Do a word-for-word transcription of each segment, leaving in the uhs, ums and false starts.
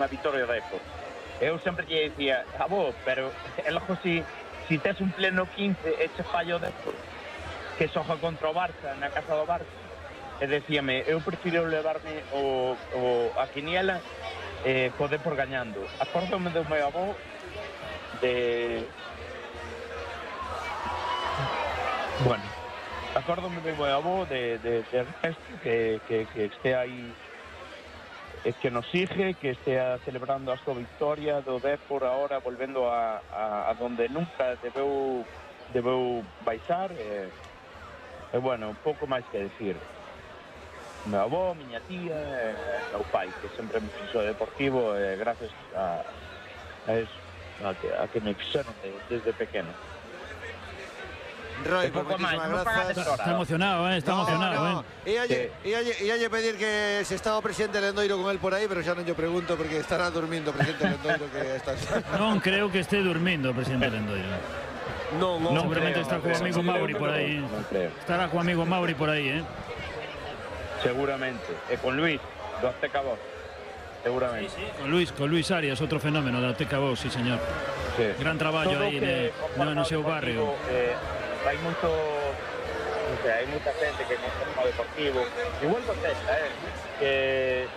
unha vitoria de Depor. Eu sempre lle dicía, avó, pero é logo si, si tes un pleno quince e che fallo Depor, que xoja contra o Barça, na casa do Barça, e decíame, eu prefiro levarme o, o, a quiniela eh, co Depor gañando. Acórdome do meu avó de... Bueno, acórdome do meu avó de, de, de Ernesto, que, que, que este aí, eh, que nos sigue, que estea celebrando a súa victoria do Depor ahora, volvendo a, a, a donde nunca debeu, debeu baixar, e, e bueno, un pouco máis que decir. Meu avó, miña tía, e meu pai, que sempre me fixo deportivo, e gracias a, a eso, a que, a que me fixeron de, desde pequeno. Roy, pues muchísimas gracias. Está emocionado, ¿eh? Está no, emocionado, no. ¿eh? Y hay que pedir que se estaba presidente Lendoiro con él por ahí, pero ya no yo pregunto porque estará durmiendo presidente Lendoiro que está... Non creo que esté durmiendo presidente Lendoiro. No, no. No, seguramente está no con creo, amigo no Mauri creo, por aí. No creo. Estará con amigo Mauri por aí, ¿eh? Seguramente. E con Luis, do Azteca Voz. Seguramente. Sí, sí. Con Luis, con Luis Arias, outro fenómeno da Azteca Voz, sí, señor. Sí. Gran traballo aí no, no seu barrio. Eh, hai moito, non sei, hai moita xente que conforma o deportivo, igual contesta, eh, que,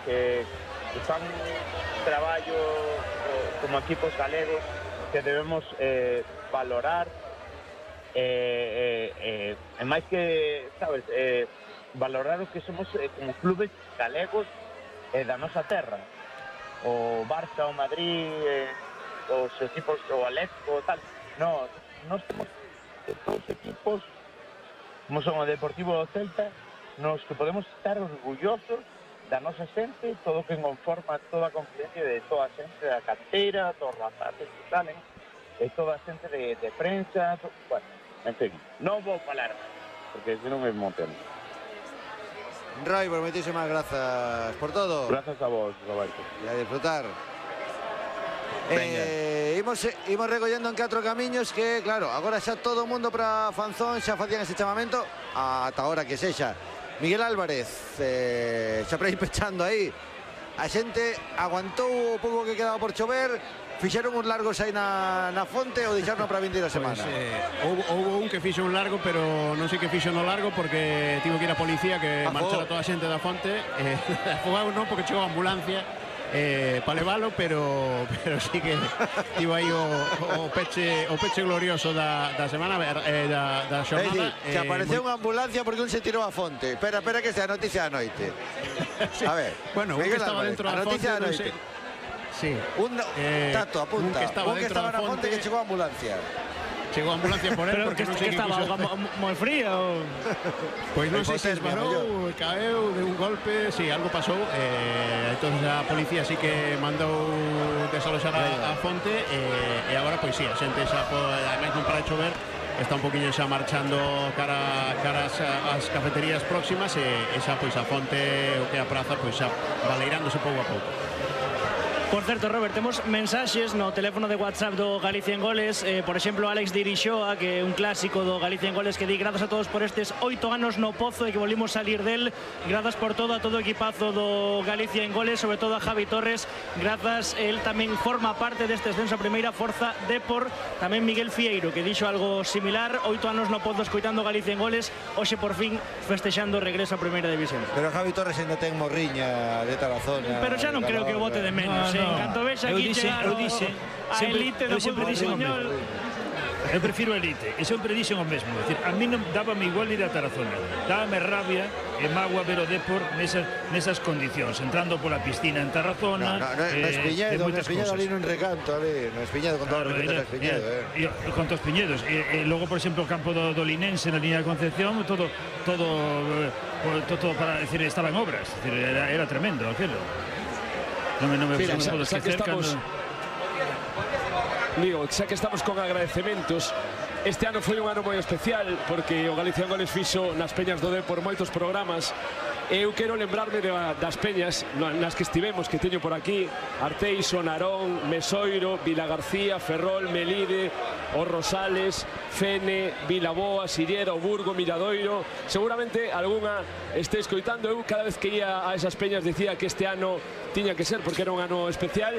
que, que fan traballo como equipos galegos que debemos eh, valorar, eh, eh, eh, e máis que, sabes, eh, valorar o que somos eh, como clubes galegos eh, da nosa terra, o Barça, o Madrid, eh, os equipos, o Atletico, tal, no, nós temos todos os equipos, como son o Deportivo do Celta, nos que podemos estar orgullosos da nosa xente, todo o que conforma toda a confidencia de toda a xente da canteira, todos os rapaces que salen, e toda a xente de, de prensa, to... bueno, en fin, non vou falar máis, porque senón me emociono. Roy, por muchísimas gracias por todo. Gracias a vos, Roberto. Y a disfrutar. Eh, imos, imos recollendo en catro camiños que, claro, agora xa todo o mundo para Fanzón xa facían ese chamamento ata ahora que sexa. Miguel Álvarez eh, xa para ir pechando aí. A xente aguantou o pouco que quedaba por chover, fixeron uns largos aí na, na fonte ou deixaron para a vindeira semana? Pues, eh, houve, houve un que fixo un largo, pero non sei que fixo no largo porque tivo que ir a policía que marchara toda a xente da fonte. Eh, afogado non, porque chegou a ambulancia eh, para levalo, pero pero sí que tivo aí o, o peche o peche glorioso da, da semana eh, da, da xornada. Eh, que apareceu unha ambulancia porque un se tirou a fonte. Espera, espera que sea a noticia da noite. Sí. A ver, bueno, un que estaba Álvarez, dentro da fonte, da non sei. Sí. Un, eh, Tato, apunta. Un que estaba, un que estaba na fonte que chegou a ambulancia. Chegou a ambulancia por él, pero porque que, non sei que que estaba quiso... moi frío. Pois non sei se esbarou, caeu de un golpe, si, sí, algo pasou. Eh, entón a policía sí que mandou desaloxar a, a fonte e, e agora pois si, sí, a xente xa pode, ademais non para de chover, está un poquinho xa marchando cara, cara as, as cafeterías próximas e, e xa pois a fonte o que a praza pois xa baleirándose pouco a pouco. Por certo, Robert, temos mensaxes no teléfono de WhatsApp do Galicia en Goles, eh, por exemplo, Alex de Irixoa, que é un clásico do Galicia en Goles, que di grazas a todos por estes oito anos no pozo e que volvimos salir del, grazas por todo a todo o equipazo do Galicia en Goles, sobre todo a Javi Torres, grazas, el tamén forma parte deste ascenso a primeira Forza Depor, tamén Miguel Fieiro, que dixo algo similar, oito anos no pozo escoitando Galicia en Goles, hoxe por fin festexando o regreso a primeira división. Pero Javi Torres ainda ten morriña de Tarazona. Pero xa non creo que vote de menos, no, no. En canto vexa aquí chegar a elite do fútbol español. Eu prefiro a elite, e sempre dixen o mesmo. Decir, a mí non dábame igual ir a Tarazona, dábame rabia e magua ver o Depor nesas, nesas condicións, entrando pola piscina en Tarazona. No, no, no, eh, no Espiñedo, no Espiñedo ali nun recanto, ali, no Espiñedo, con todo claro, o respeto a Espiñedo. Eh. E, con todos os Piñedos. E, e logo, por exemplo, o campo do, do Linense na línea de Concepción, todo, todo, todo, todo para decir, estaba en obras. Decir, era, era tremendo aquilo. Non me, non me, Mira, non me xa, podo xa que esquecer estamos, cando... digo, xa que estamos con agradecementos, este ano foi un ano moi especial porque o Galicia en Goles fixo nas peñas do Depor moitos programas. Eu quero lembrarme de, das peñas nas que estivemos, que teño por aquí: Arteixo, Narón, Mesoiro, Vilagarcía, Ferrol, Melide, Os Rosales, Fene, Vilaboa, Sillera, o Burgo, Miradoiro. Seguramente algunha este escoitando. Eu cada vez que ia a esas peñas dicía que este ano tiña que ser porque era un ano especial.